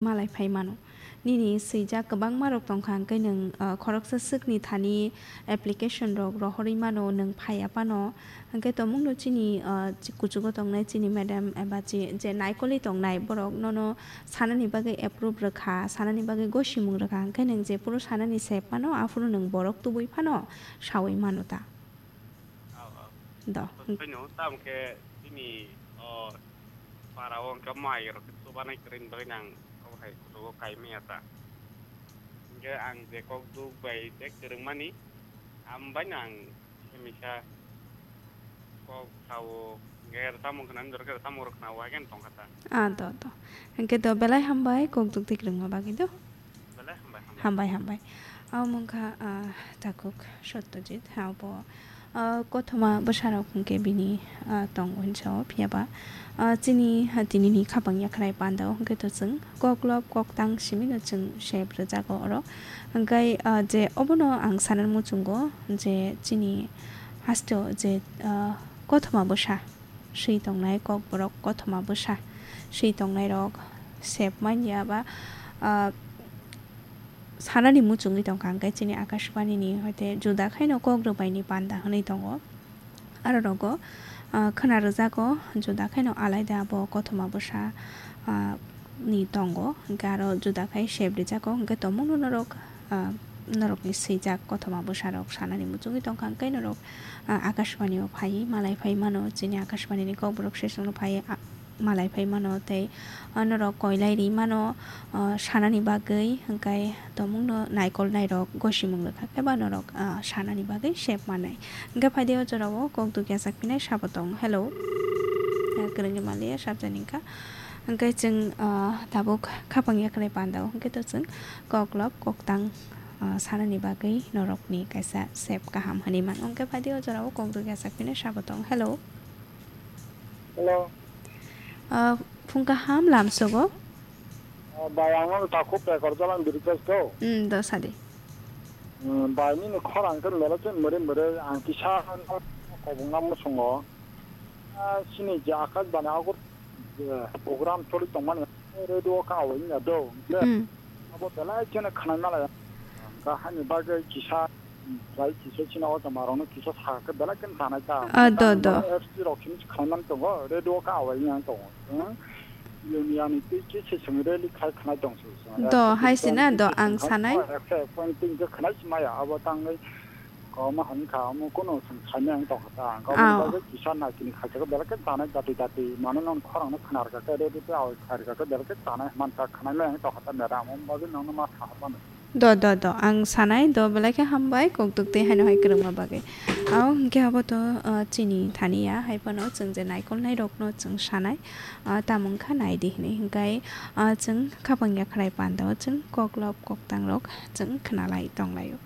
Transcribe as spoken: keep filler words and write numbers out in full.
malai phai mano. Nini swijak kwbangma rok tongkha, hwnkhe nwng, ah, khoroksa swkni thani application rok rohorwi mano, nwng phaiya phano. Hwnkhe tongmungno chini, ah, chi-, kuchugo tongnai chini madam eba chi-, je naikolwi tongnai borok nono sanani bagwi approve rwkha, sanani bagwi gosimung rwkha, hwnkhe nwng jephuru sanani sep mano, aphuru nwng borok tubui phano saui mano ta. Aw, aw. Do. Phano tamo khe chini, o, para o hwnkhe mai rok khe chubanai kwrwini bagwi nang obo hai kuchugo kai manya ta. Hwnkhe ang je kok duk bai je kwrwngmani, am bai nang himisa kok sao, hwnkhe tamo khna, jora khe tamo rok khna, o hai khe tongkha ta. Ah, do, do. Hwnkhe do belai hambai kok duk duk rwngma bagwi do. Belai hambai, hambai. Hambai, hambai. Abo wngkha, ah, takhuk Satyajit, abo, ah, kothoma bwsarok hwnkhe bini, ah, tongo hinsa o, phiya ba, ah, chini, ah, tinini khapang yakrai panda o hwnkhe to chwng koklop koktang simi no chwng sep rwjago oro. Hwnkhe, ah, je obono ang sanani muchungo je chini haste o je, ah, kothoma bwsa swi tongnai, kokborok kothoma bwsa swi tongnairok sep manya ba, ah, sanani muchungwi tongkha, hwnkhe chini Akashbani ni hoite juda khaino kok rwbaini panda hwnwi tongo. Aro rogo, ah, khwna rwjago juda khaino alaida abo kothoma bwsa, ah, ni tongo, hwnkhe aro juda khai sep rijago, hwnkhe tongmungno norok, ah, norokni swijak kothoma bwsarok sanani muchungwi tongkha, hwnkhe norok, ah, Akashbani o phai malai phai mano, chini Akashbani ni kokborok sesongno phai, ah, malai phai mano tei, ah, norok koilai ri mano, ah, sanani bagwi, hwnkhe tongmungno naikolnairok gosimung rwkha khe ba norok, ah, sanani bagwi sep manai. Hwnkhe phaidi o jorao kok dukya sak phinai sabo tong. Hello. Ah, kwrwngni maliya sabjani wngkha. Hwnkhe chwng, ah, tabuk khapang yakrai panda o hwnkhe to chwng koklop koktang, ah, sanani bagwi norokni kaisa sep kaham hwnwi mano. Hwnkhe phaidi o jorao kok dukya sak phinai sabo tong. Hello. Hello. Ah, phung kaham lamsogo. Ah, bai, ang no takhuk Pekar Jalan Birikes ko. Hmm, do sadi. Hmm, bai, nini khorang khe mele khe mwrwi mwrwi ang kisa kobong na muchungo. Ah, sini je Akashbani agur, eh, program choli tongmani radio ka awai ya do. Hmm. Abo belai kheno khwnai malai. Ka hani bagwi kisa, lai kisa chini o jama rokno kisa sa khe belai kheno sanai ta. Ah, do, do. F C rok chini khwnai man tongo, radio ka awai yang tongo. Hmm? Union ni twi kisa simi rally khai khwnai tong se. Do, hai sina do ang sanai. Ekse point tin khe khwnai si maya, abo tangwi koma hwn kha, omo kuno song saimai ang tong kha ta. Ang koma bagwi kisa nai tini khai khe belai khe sanai dati dati. Mano non khorang no khnar kha khe, radio te awai khai kha khe belai khe sanai man ta khwnai mai ang tong kha ta madam. Omo bagwi nang no ma tha mano. Do, do, do. Ang sanai, do, belai khe hambai, kok duk tei haino hai kwrwngma bagwi. Ao hwnkhe abo to, ah, chini thani ya, hai phano chwng je naikolnai rokno chwng sanai, ah, tamo wngkha nai di hinwi. Hwnkhe, ah, chwng khapang yakrai panda o chwng koklop koktang rok chwng khwnalai tonglaio.